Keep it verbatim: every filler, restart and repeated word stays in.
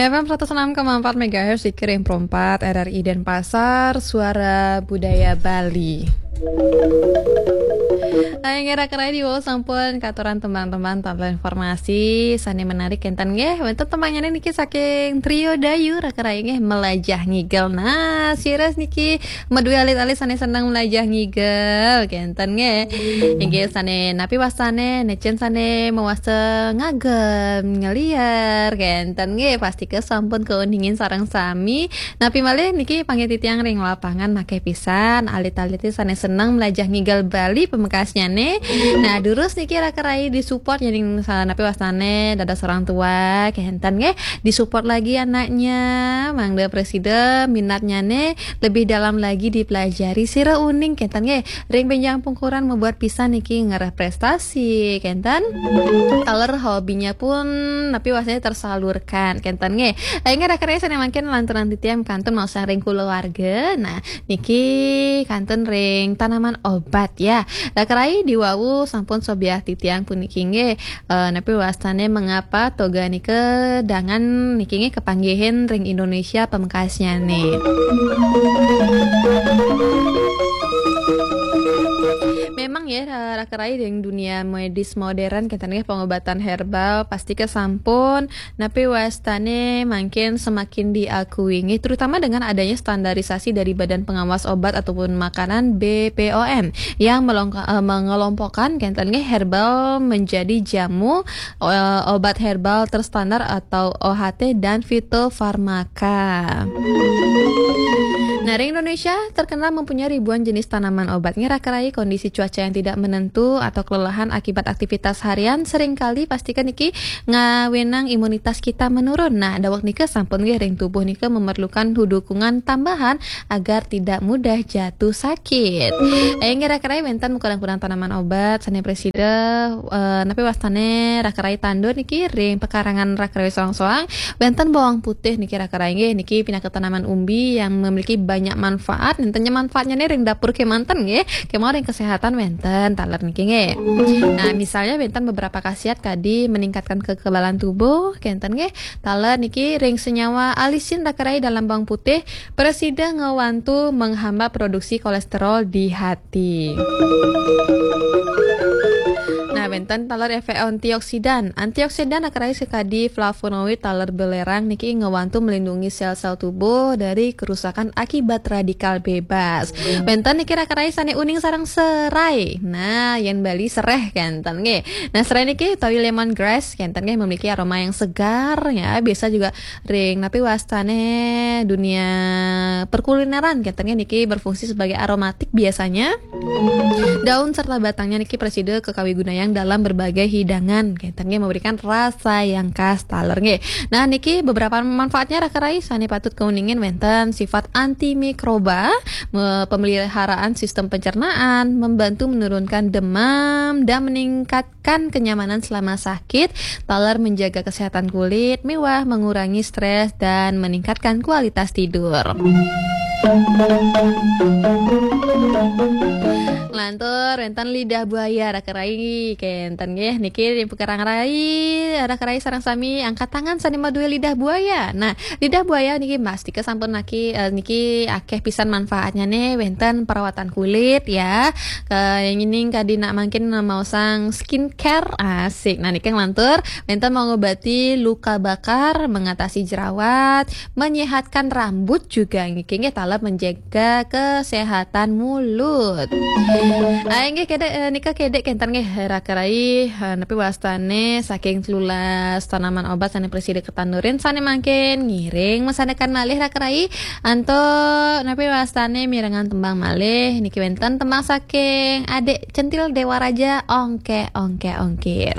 F M seratus enam koma empat megahertz, Sikiring Perempat, R R I Denpasar, Suara Budaya Bali. Ayo nggih, raka rai, diwau sampun katuran tembang-tembang, taler informasi sane menarik kenten nggih. Wenten tembangnya niki saking Trio Dayu, raka rai, nggih, Melajah Ngigel. Nah, sira niki meduwe alit-alit sane seneng melajah ngigel kenten nggih. Inggih, sane napi wastane, necen sane mewasta ngagem, ngeliar kenten nggih, pasti kesampun keuningin sareng sami. Napi malih niki panggih titiang ring lapangan akeh pisan alit-alite sane seneng melajah ngigel Bali pamekasnyane. Nah, durus niki raka rai disupport, yen sa-, napi wastane dados orang tua kenten nggih, disupport lagi anaknya, mangda presida minatnyane lebih dalam lagi dipelajari, sira uning kenten nggih. Ring benjang pungkuran membuat pisan niki ngereh prestasi kenten. Taler hobinya pun napi wastane tersalurkan kenten nggih. Ayo nggih, raka rai, sane mangkin lanturang titiang kantun maosang ring kulawarga. Nah, niki kantun ring tanaman obat ya. Raka rai, diwau sampun sobiah titiang puniki nggih. Eh, napi wastane mengapa toga nika dangan niki nggih kepanggihin ring Indonesia pamekasnyane. Memang ya, raka rai, ring dunia medis modern kenten nggih, pengobatan herbal pasti kesampun napi wastane mangkin semakin diakui nggih, terutama dengan adanya standarisasi dari Badan Pengawas Obat ataupun Makanan, B P O M, yang melongka-, eh, mengelompokkan kenten nggih herbal menjadi jamu, eh, obat herbal terstandar atau O H T dan fitofarmaka. Nah, ring Indonesia terkenal mempunyai ribuan jenis tanaman obat nggih, raka rai. Kondisi cuaca yang tidak menentu atau kelelahan akibat aktivitas harian seringkali pastikan niki ngawenang imunitas kita menurun. Nah, daweg nika sampun nggih ring tubuh nika memerlukan dukungan tambahan agar tidak mudah jatuh sakit. Eh, nggih, raka rai, wenten kurang-kurang tanaman obat sane presida, eh, napi wastane raka rai tandur niki ring pekarangan raka rai soang-soang. Wenten bawang putih niki raka rai nggih, niki pinaka tanaman umbi yang memiliki banyak manfaat. Nentennya manfaatnya nih ring dapur kemanten nggih, kemawon ring kesehatan wenten taler niki nggih. Nah, misalnya wenten beberapa khasiat kadi meningkatkan kekebalan tubuh kenten nggih. Taler niki ring senyawa alisin raka rai dalam bawang putih, presida ngewantu menghambat produksi kolesterol di hati. Nah, wenten taler efek antioksidan. Antioksidan raka rai sakadi flavonoid taler belerang niki ngewantu melindungi sel-sel tubuh dari kerusakan akibat radikal bebas. Wenten niki raka rai sane uning sareng serai. Nah, yen Bali sereh kenten nggih. Nah, serai niki utawi lemon grass kenten nggih memiliki aroma yang segar ya. Biasa juga ring napi wastane dunia perkulineran kenten nggih, niki berfungsi sebagai aromatik biasanya. Daun serta batangnya niki presida kekawigunayang dalam berbagai hidangan kenten nggih, memberikan rasa yang khas taler nggih. Nah, niki beberapa manfaatnya raka rai sane patut keuningin wenten sifat antimikroba, me-, pemeliharaan sistem pencernaan, membantu menurunkan demam dan meningkatkan kenyamanan selama sakit, taler menjaga kesehatan kulit, miwah mengurangi stres dan meningkatkan kualitas tidur. Lantur wenten lidah buaya raka rai kenten nggih, niki ring pekarangan rai raka rai sareng sami angkat tangan sane maduwe lidah buaya. Nah, lidah buaya niki mastika sampun naki, eh, niki akeh pisan manfaatnya nih, wenten perawatan kulit ya. Ke ngining kadi nak mangkin maosang skincare asik. Nah, niki nglantur wenten mengobati luka bakar, mengatasi jerawat, menyehatkan rambut juga nggih, nggih taler menjaga kesehatan mulut. Ah, inggih kedek, eh, nika kedek kenten nggih raka rai, eh, napi wastane saking telulas tanaman obat sane presida ketandurin sane mangkin ngiring masandekan malih raka rai. Antuk napi wastane mirengang tembang malih niki wenten tembang saking Adik Centil Dewa Raja, Ongke Ongke Ongkir.